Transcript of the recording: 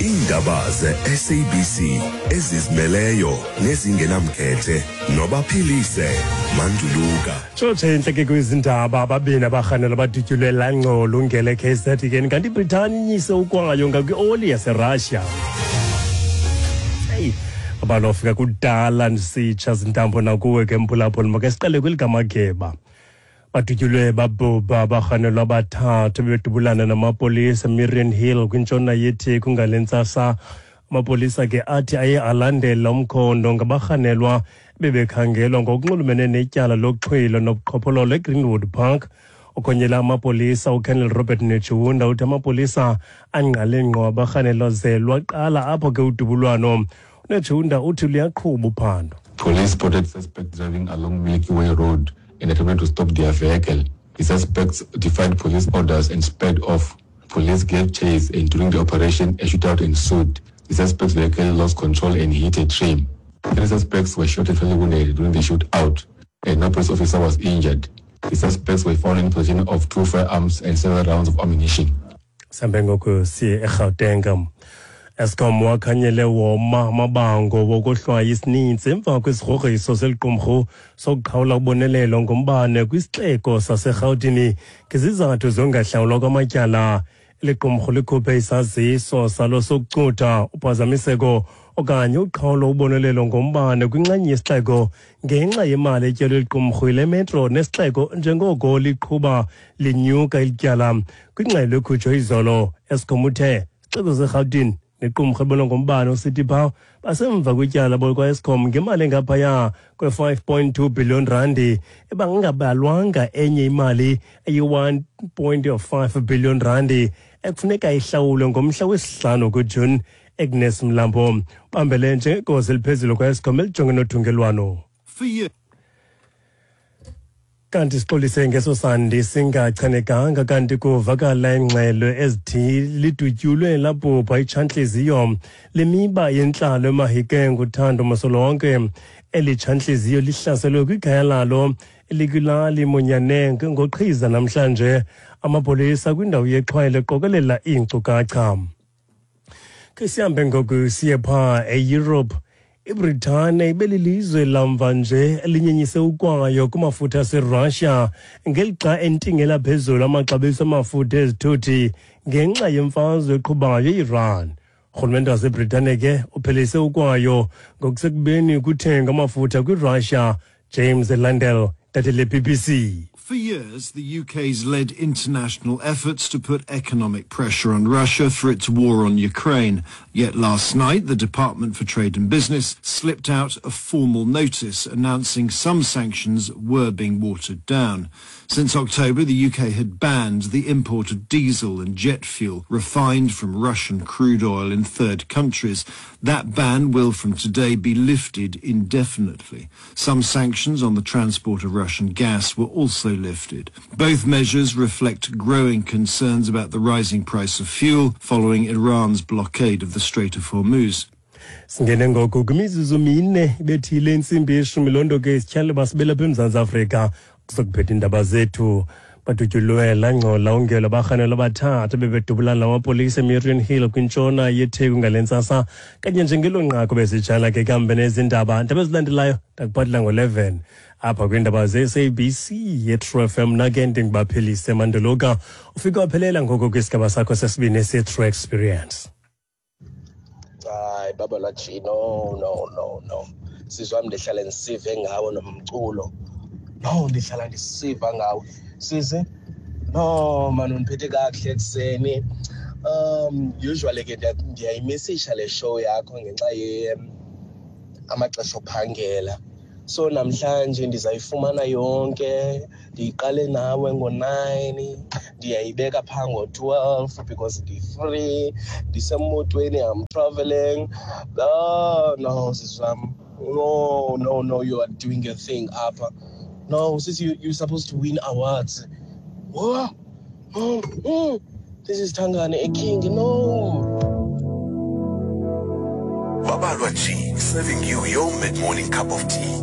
Iindaba ze-SABC ezizimeleyo nezingenamkhethe nobaphilise Manduluka. Tshotshe intleke kwizindaba ababini abarhanelwa badutyulwe langxolo ungele KZN kanti iBritani inyise ukwayo ngakwioli yaseRussia. Hey, abalofika kudala ndisitsha zintambo nakuwe ke mphulaphula make siqale kweligamageba. Badutyulwe babhubha abarhanelwa abathathu bebedubulana namapolisa eMiriam Hill kwintshona yeTheku ngale ntsasa. Amapolisa ke athi aye alandela umkhondo ngabarhanelwa bebekhangelwa ngokunxulumene netyala lokuxhwila nobuqhophololo eGreenwood Park. Okhonyela amapolisa uColonel Robert Netshiunda uthi amapolisa angqale ngqo abarhanelwa ze lwaqala apho ke udubulwano. UNetshiunda uthi luyaqhuba uphando. Police spotted suspect driving along Milky Way Road and attempted to stop their vehicle. The suspects defied police orders and sped off. Police gave chase and during the operation, a shootout ensued. The suspect's vehicle lost control and hit a tree. Three suspects were shot and fatally wounded during the shootout, and no police officer was injured. The suspects were found in possession of two firearms and several rounds of ammunition. Sihambe ngoku siye eGauteng. Eskom wakhanyele woma amabango wokohlwaya isininzi emva kwesigrogriso seliqumrhu sokuqhawula ubonelelo ngombane kwisixeko saseRhawutini ngezizathu zongahlawulwa kwamatyala. Eli qumrhu likhuphe isaziso salo sokucutha uphazamiseko okanye uqhawulo ubonelelo ngombane kwinxenye yesixeko ngenxa yemali etyelwe liqumrhu yile metro nesixeko njengoko liqhuba linyuka elityala. Kwingxelo ekhutshwe izolo, Eskom uthe isixeko seRhawutini nequmrhu ebona ngombane uCity Power basemva kwityala bolukwa-Eskom ngemali engaphaya kwe-5.2 billion randi ebangabalwanga enye imali eyi-1.5 billion randi ekufuneka ihlawulwe ngomhla wesihlanu kuJuni. Agnes Mlambo bambele njengegosa eliphezulu kwa-Eskom elijonge nothungelwano. Kanti sixolise ngeso sandi singachanekanga kanti kuvakala ingxelo ezithi lidutyulwe labhubha itshantliziyo lemiba yentlalo eMahikeng uThando Masolonke. Eli tshantliziyo lihlaselwe kwikhaya lalo elikwilali Monyaneng ngoqhiza namhlanje. Amapolisa kwindawo yexhwayelo eqokelela iinkcukacha. Ke sihambe ngoku siye phaa eEurope. IBritane ibelilizwe lamva nje elinyenyise ukwayo kumafutha aseRussia ngelixa entingela phezulu amaxabiso amafutha ezithuthi ngenxa yemfazwe eqhubayo eIran. Urhulumente waseBritane ke uphelise ukwayo ngokusekubeni kuthenga amafutha kwiRussia. James Landell, intatheli yeBBC. For years, the UK's led international efforts to put economic pressure on Russia for its war on Ukraine. Yet last night, the Department for Trade and Business slipped out a formal notice announcing some sanctions were being watered down. Since October, the UK had banned the import of diesel and jet fuel refined from Russian crude oil in third countries. That ban will from today be lifted indefinitely. Some sanctions on the transport of Russian gas were also lifted. Both measures reflect growing concerns about the rising price of fuel following Iran's blockade of the Strait of Hormuz. Singene ngoku kwimizuzu mine ibethile intsimbi yeshumi. Loo nto ke isityhale basibela apha eMzantsi Afrika kuzokuphetha iindaba zethu. Badutyulwe langxola ungelo abarhanelwa abathathu bebedubulana namapolisa eMarian Hill kwintshona yeTheku ngale ntsasa. Kanye njengelo nqaku besitshala ke kambe nezindaba ndaba ezilandelayo ndakuphathela ngo-11 apha kwiindaba ze-SABC yeTrue FM. Nake ndingibaphelise Manduluka ufike waphelela ngoku kwisigaba sakho sesibini se-True Experience. Hayi baba laji, no no no no, sisi wam, ndihlale ndisive ngawe nomculo. No, ndihlala ndisiva ngawe sisi. No man, undiphethe kakuhle ekuseni. Usually ke ndiyayimisisha le show yakho ngenxa ye amaxesha ophangela, so namhlanje ndizayifumana yonke. Ndiyiqale nawe ngo-9, ndiyayibeka phaa ngo-12 because ndi-free, ndisemotweni, I'm traveling. Oh no, sisi wam, no no no, you are doing your thing apha. No sisi, you're supposed to win awards. Oh, This is Tangane, a king. No. Babalwa G, serving you your mid-morning cup of tea.